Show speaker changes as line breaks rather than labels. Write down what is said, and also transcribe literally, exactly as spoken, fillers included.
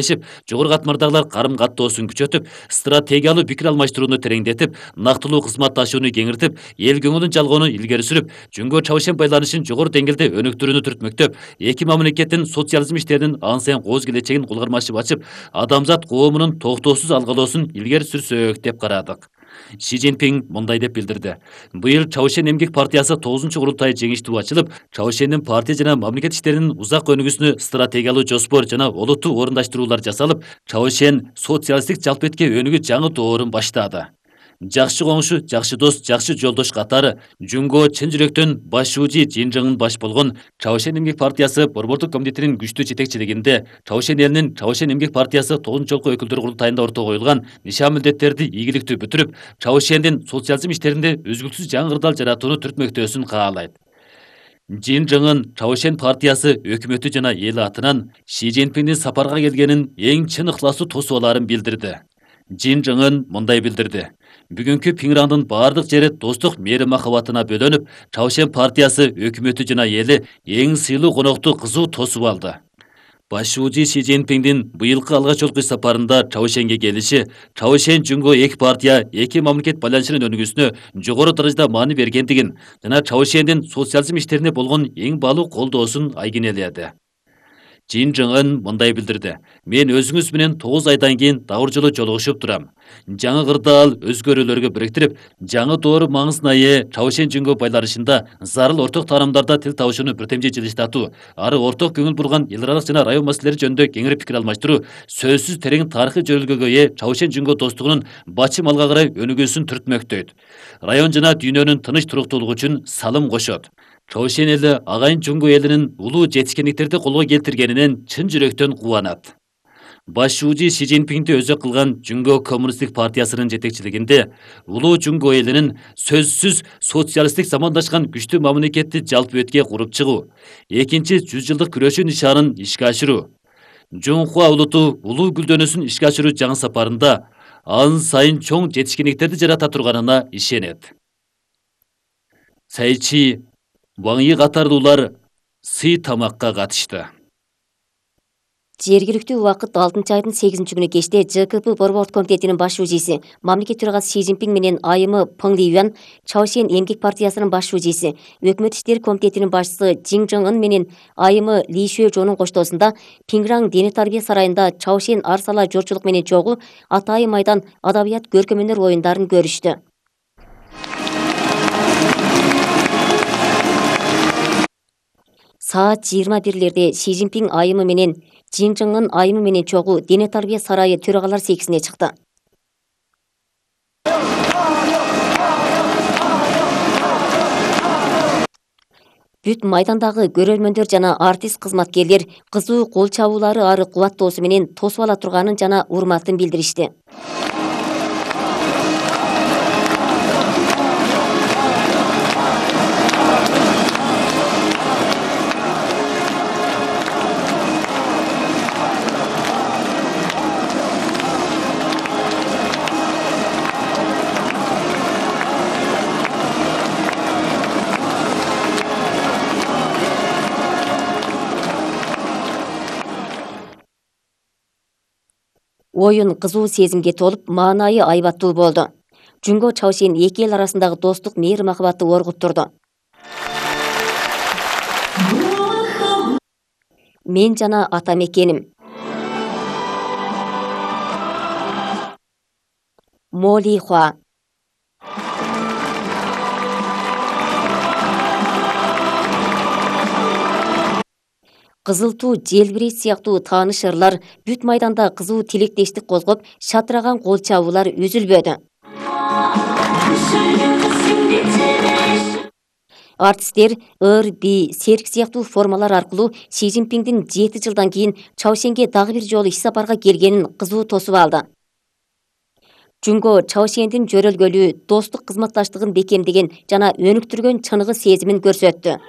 жогору катмардагылар карым-каттоосун күчөтүп, стратегиялуу пикир алмаштырууну тереңдетип, нактылуу кызматташууну кеңиртип, эл көңүлүн жалгоону илгери сүрүп, Жөнгө Чавшен байланышын жогору деңгээлде өнүктүрүүнү түртмөктөп, эки мамлекеттин социализм иштеринин ан сайын кооз келечегин кулгармашып ачып, адамзат коомунун токтоосуз алгалоосун илгери сүрсөк деп карадык. Ши Цзиньпин мындай деп билдирди. Быйыл Чавшен эмгек партиясы тогузунчу курултай жеңиштүү ачылып, Чавшендин партия жана мамлекет иштеринин узак өнүгүүсүнө стратегиялуу жоспор жана олуттуу орундаштыруулар жасалып, Чавшен социалисттик жалпетке өнүгүү жаңы доорун баштады. Жакшы коңшу, жакшы дос, жакшы жолдош катары Жөнгө чын жүрөктөн башчуучу Жин баш болгон Чавшен эмгек партиясы борбордук комитетинин күчтүү жетекчилигинде Чавшен элинин Чавшен эмгек партиясы тогузунчу жолку өкүлдөр курултайында ортого коюлган нишан милдеттерди ийгиликтүү бүтүрүп, Чавшендин социализм иштеринде үзгүлтүсүз жаңы кырдаал жаратууну түртмөктөөсүн каалайт. Жин Чавшен партиясы өкмөтү жана эли атынан Ши Цзиньпиндин сапарга келгенин эң чын ыхласуу тосуп билдирди. Жин мындай билдирди. Бүгүнкү Пиңрандын бардык жери достук мээрим махабатына бөлөнүп, Чавшен партиясы өкмөтү жана эли эң сыйлуу конокту кызуу тосуп алды. Башчуучу Ши Цзиньпиндин быйылкы алгач жолку сапарында Чавшенге келиши Чавшен Жөнгө эки партия, эки мамлекет байланышынын өнүгүүсүнө жогору даражада маани бергендигин жана Чавшендин социализм иштерине болгон эң баалуу колдоосун айгинеледи. Жин мындай билдирди. Мен өзүңүз менен тогуз айдан кийин дагы жолу жолугушуп турам. Жаңы кырдаал өзгөрүүлөргө бириктирип, жаңы доору маңызына ээ Чавшен Жөнгө байланышында зарыл орток таарамдарда тил табышууну биртемчи жылыштатуу, ары орток көңүл бурган эл аралык жана район маселелери жөнүндө кеңири пикир алмаштыруу, сөзсүз терең тарыхый жөрөлгөгө ээ Чавшен Жөнгө достугунун бачым алга карай өнүгүүсүн түртмөктөйт. Район жана дүйнөнүн тыныч туруктуулугу үчүн салым кошот. Чавшен эли агайын Жөнгө элинин улуу жетишкендиктерди колго келтиргенинен чын жүрөктөн кубанат. Башчуучу Ши Цзиньпинди өзөк кылган Жөнгө коммунисттик партиясынын жетекчилигинде улуу Жөнгө элинин сөзсүз социалисттик замандашкан күчтүү мамлекетти жалпы өткө куруп чыгуу, экинчи жүз жылдык күрөшүү нишанын ишке ашыруу, Жонхуа улуту улуу гүлдөнүүсүн ишке ашыруу жаңы сапарында ан сайын чоң жетишкендиктерди жарата турганына ишенет. Сайчи Ваңйы катарлуулар сый тамакка катышты.
Жергиликтүү убакыт алтынчы айдын сегизинчи күнү кечте Ж К П борбордук комитетинин башчуучусу, мамлекет төрагасы Ши Цзиньпин менен айымы Пeng Лiyuan, Чавшен эмгек партиясынын башчуучусу, өкмөт иштери комитетинин башчысы Жин менен айымы Ли Шуэжонун коштоосунда Пиңраң дене тарбия сарайында Чавшен арсала жорчулук менен чогуу Атайын майдан адабият көркөмөнөр оюндарын көрүштү. Саат жыйырма бирлерде Ши Цзиньпин айымы менен Жин айымы менен чогуу дене тарбия сарайы төрагалар секисине чыкты. Бүт майдандагы көрөрмөндөр жана артист кызматкерлер кызуу кол чабуулары ары кубаттоосу менен тосуп ала турганын жана урматын билдиришти. Оюн кызуу сезимге толуп, маанайы айбаттуу болду. Жөнгө Чавшен эки эл арасындагы достук мээрим махабатты оргуттурду. Мен жана ата мекеним. Моли Хуа. Кызыл туу, желбирейт сыяктуу тааныш ырлар бүт майданда кызуу тилектештик козгоп, шатыраган кол чабуулар үзүлбөдү. Артисттер ыр, би, серк сыяктуу формалар аркылуу Ши Цзиньпиндин жети жылдан кийин Чавшенге дагы бир жолу иш сапарга келгенин кызуу тосуп алды. Жөнгө Чавшендин жөрөлгөлүү, достук кызматташтыгын бекемдеген жана өнүктүргөн чыныгы сезимин көрсөттү.